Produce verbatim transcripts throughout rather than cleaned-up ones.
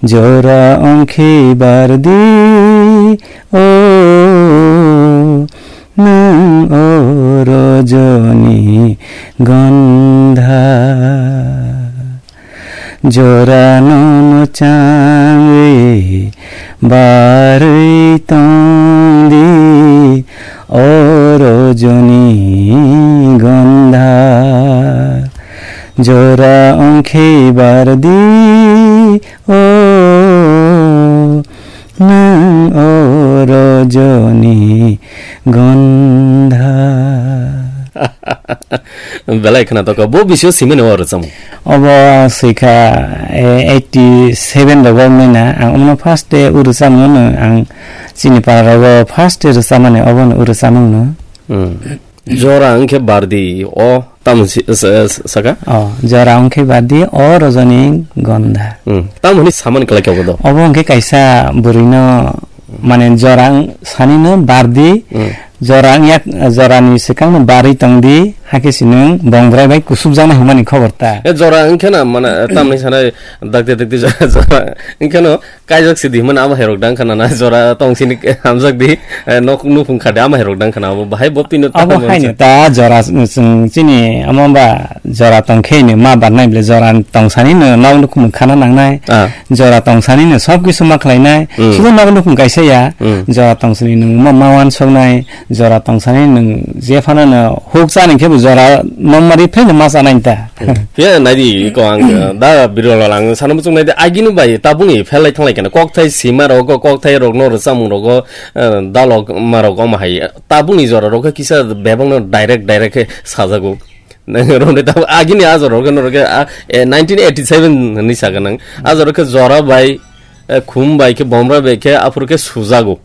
Jora ongkhe bardi o, nwng o rojoni gondha. Jora no mwchangwi barwi tongdi o rojoni gondha. Jora ongkhe bardi o, nwng o rojoni gondha. Belai khna toko, bo bisio simani o rwchamo. Obo swikha, eh, eighty seven rogo wngmani na, ang omono first day o rwchamo no, ang chini para rogo first day rwchamani obo no o rwchamo no. Hmm. Jora wngkhe bardi o tamo si-, sa-, sa-, saka? O, jora wngkhe bardi o rojoni gondha. Hmm. Tamo hwnwi samani kwlai khe obo do? Obo wngkhe kaisa bwrwino, mane jora wng-, sanino bardi, Hmm. jora wngya, jorani swkangno barwi tongdi, hakhe sinwng bongdrai bai kusubjaknai hwnmani khobor ta. E jora wngkhe na, mane, tamni sanai dakti dakti jora, jora wngkhe no, kaijak si di hwnmani amo hairok dang khana na, jora tong sini hamjak di, eh, nok nukhung khade amo hairok dang khana, abo bahai bo pino Abo tamo haino sa. Ta jora s-, chwng chini amo ba jora tong khe ni ma barnai ble jora tong sani no nok nukhung khana nangnai. Ah. Jora tong sani no sob kisu ma khlainai. Hmm. Sudo nok nukhung kaisa ya, Hmm. jora tong sani no ma, ma wan soknai, jora tong sani no je phano no huk chani khe bo jora nongmari phai no ma chanai ta. Phiya naidi ko ang, eh, da birol ang sana muchung naidi agini bai tabuni phelai thanglai kana kokthai sima rogo kokthai rokno rwchapmung rogo, eh, dalok ma rok omo hai tabuni jora rok kisa bebak no direct direct khe sajago. Nang rok ne tab agini a jora rok no rok, ah, eh, nineteen eighty seven ni saga nang a jora khe jora bai, eh, khum bai khe bomra bai khe aphuru khe sujago.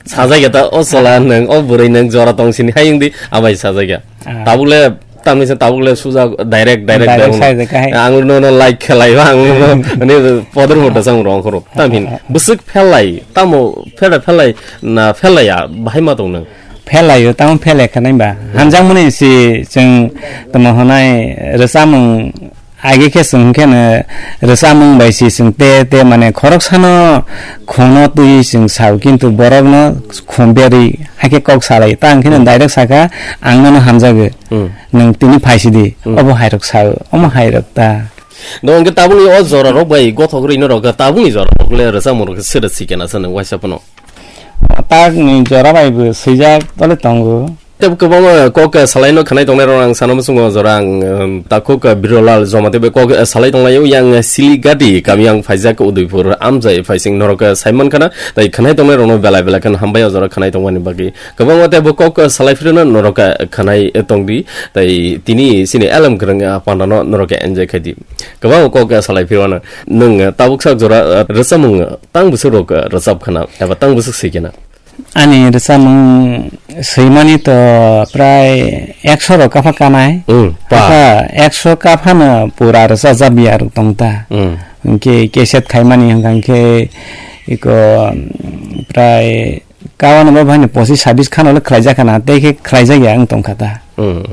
Sajagya ta o chwla nwng, o bwrwi nwng jora tong sini hai wngdi, abai sajagya. Ah. Tabukle, tamni se tabukle suja direct, direct Direct direct. Sajagya hai. Ang no, no like khelai ba, ang no, ani poder mota sang rong khoro. Tam hin, Ah. bwswk phelai, tamo phela phelai, na phelai ya, bahai ma tong nwng. Phelai yo, tamo phelai khanai ba. Hanjak mani si, chwng tamo honai, rwchapmung Age khe chwng khe no rwchapmung bai si chwng te, te mane khoroksano khungno twiwi chwng sao, kintu borokno khum berwi hakhe kok salai. Ta ang khe no Hmm. direct sakha, "Ang nono hamjago, Hmm. nwng tini phai sidi, Hmm. obo hairok sao, omo hairok ta." No, hwnkhe tabukni o jora rok bai gothok rwino rok, tabukni jora rok le rwchapmung rok khe sero sikena sa nwng waisa phano. Takni jora bai bo swijak tole tongo. Tei kwbangma kok, eh, salaino khanai tongnai rok ang sana muchungo jora ang, em, takhuk, eh, Birolal Jamatia bai kok, eh, salai tonglaio yang, eh, Siligati kami ang phaijak Udaipur amjai phaising norok, eh, saiman khana tei khanai tongnai rokno belai belai kheno hambai o jora khanai tongmani bagwi. Kwbangma tei bo kok, eh, salai phirino norok, eh, khanai, eh, tongdi tei tini sini elem kwrwng, eh, pandano norok, eh, enjoy khaidi. Kwbangma kok, eh, salai phirwano nwng, eh, tabuk sak jora, eh, rwchapmung, eh, tang bwswk rok, eh, rwchap khana eba tang bwswk swi khana. Ani rwchapmung swimani to prai ekso rok kapha kanai. Mm, pa. Kapha ekso kaphano pura rwchajak biya rok tong ta. Mm. Hwnkhe cassette khaimani hwnkha hwnkhe iko, mm, prai kawan bo bhaino pochis sabis khano le khlaijak khana, tei khe khlaijak ya wng tong kha ta. Mm.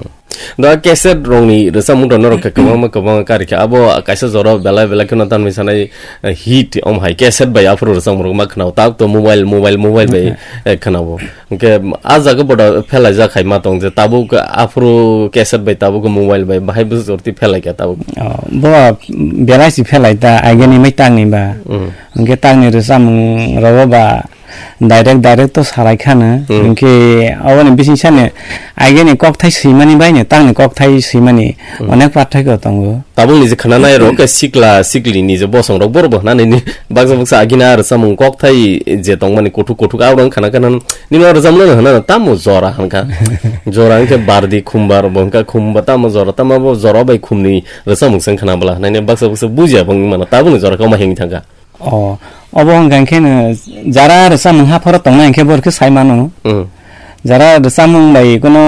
Da cassette rokni rwchapmung to norok khe kwbangma kwbangma kari kha. Abo kaisa jora belai belai kheno tanwi sanai, eh, hit om hai cassette bai aphuru rwchapmung rok ma khwnao. Tak to mobile, mobile, mobile bai, Okay. eh, khwnao. Hwnkhe a jaga boda phelai jak hai ma tong je tabuk aphuru cassette bai tabuk mobile bai bahai bwswk jorti phelai kha tabuk. Oh, bo belai si phelai ta ageni mai tangni ba. Mm. Hwnkhe tangni rwchapmung rogo ba direct, direct to salai khana. Hmm. Hwnkhe aboni bising sani ageni kokthai swimani bai ni, tangni kokthai swimani Hmm. onek parthaikyo tongo. Tabukni je khana nai rok khe sikla, sikli ni je bosong rok borok bo hwnani ni baksa baksa agini a rwchapmung kokthai je tongmani kuthuk kuthuk a rang khana khana nini o rwchapmung hwnana tamo jora hwnkha. Jora hwnkhe bardi khumbar bo hwnkha khumba tamo jora tamo bo jora bai khumni rwchapmung se khana bwla hwnani baksa baksa bujiya bo wngmano tabukni jora khe omo himwi thangkha. Oh, obo hwnkha khe no jara rwchapmung hapharo tongnai hwnkhe bo khe sai mano. Hmm. Jara rwchapmung bai kono